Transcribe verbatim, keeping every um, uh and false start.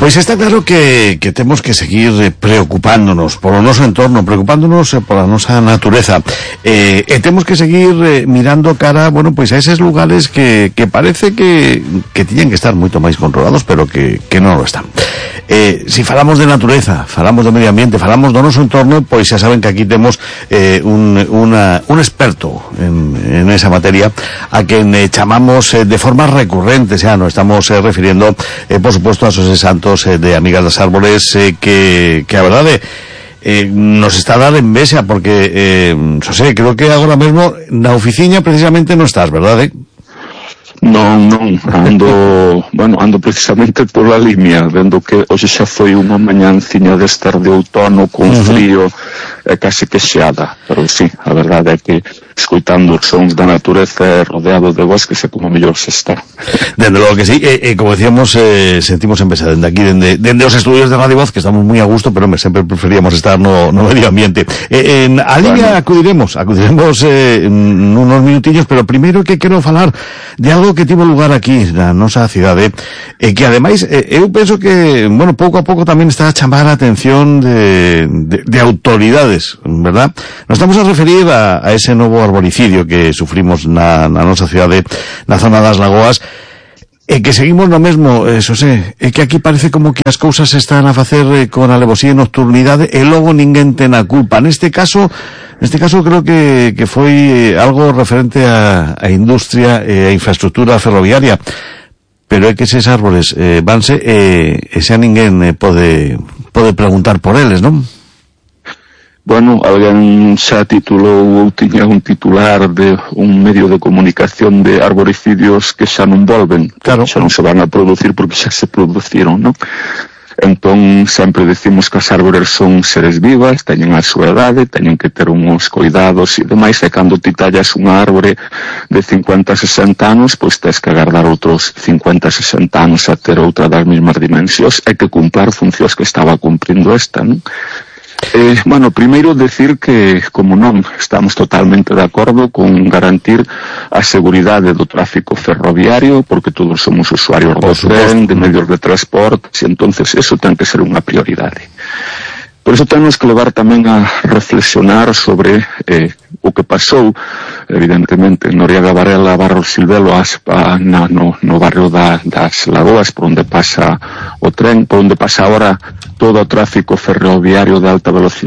Pois está claro que, que temos que seguir preocupándonos polo noso entorno, preocupándonos pola nosa natureza, eh, e temos que seguir eh, mirando cara, bueno, pois a eses lugares que, que parece que, que tiñen que estar moito máis controlados, pero que, que non lo están. Eh, si falamos de natureza, falamos do medio ambiente, falamos do noso entorno, pois xa saben que aquí temos eh, un, una, un experto en, en esa materia, a quen eh, chamamos eh, de forma recurrente, xa nos estamos eh, refiriendo, eh, por supuesto, a Xosé Santos eh, de Amigas das Árbores, eh, que, que a verdade eh, nos está a dar envexa, porque eh, Xosé, creo que agora mesmo na oficina precisamente non estás, verdade? Non, non, ando, bueno, ando precisamente pola línea, vendo que hoxe xa foi unha mañanciña de estar de outono con uh-huh. frío e case que xeada, pero sí, a verdade é que escoitando os sons da natureza rodeado de bosques é como mellor se está. Dende logo que sí, e, e como decíamos, eh, sentimos empezar dende aquí, dende, dende os estudios de Radio Voz, que estamos moi a gusto, pero me, sempre preferíamos estar no, no medio ambiente. Eh, en a línea bueno. acudiremos, acudiremos eh, en unos minutillos, pero primeiro que quero falar de algo que tivo lugar aquí na nosa cidade, e que ademais eh, eu penso que, bueno, pouco a pouco tamén está a chamar a atención de, de, de autoridades, verdad? Nos estamos a referir a, a ese novo arboricidio que sufrimos na, na nosa cidade, na zona das Lagoas, e que seguimos no mesmo, eso sé, é que aquí parece como que as cousas se están a facer eh, con alevosía e nocturnidade, e logo ninguén ten a culpa. Neste caso, neste caso creo que, que foi eh, algo referente a, a industria e a infraestructura ferroviaria, pero é que eses árboles eh, vanse e, e xa ninguén eh, pode, pode preguntar por eles, non? Bueno, alguén xa titulou ou tiña un titular de un medio de comunicación de arboricidios que xa non volven, claro. Xa non se van a producir porque xa se produciron, non? Entón, sempre decimos que as árbores son seres vivas, teñen a súa idade, teñen que ter uns cuidados e demais, e cando ti tallas unha árbore de cincuenta a sesenta anos, pois tens que agardar outros cincuenta a sesenta anos a ter outra das mesmas dimensións, e que cumplar funcións que estaba cumprindo esta, non? Eh, bueno, primeiro decir que, como non, estamos totalmente de acordo con garantir a seguridade do tráfico ferroviario, porque todos somos usuarios do tren, de medios de transporte, e entonces eso ten que ser unha prioridade. Por iso temos que levar tamén a reflexionar sobre eh, o que pasou, evidentemente, en Noriega Varela, Barro Silvelo, Aspa, na, no, no barrio da, das Lagoas, por onde pasa o tren, por onde pasa ahora todo o tráfico ferroviario de alta velocidade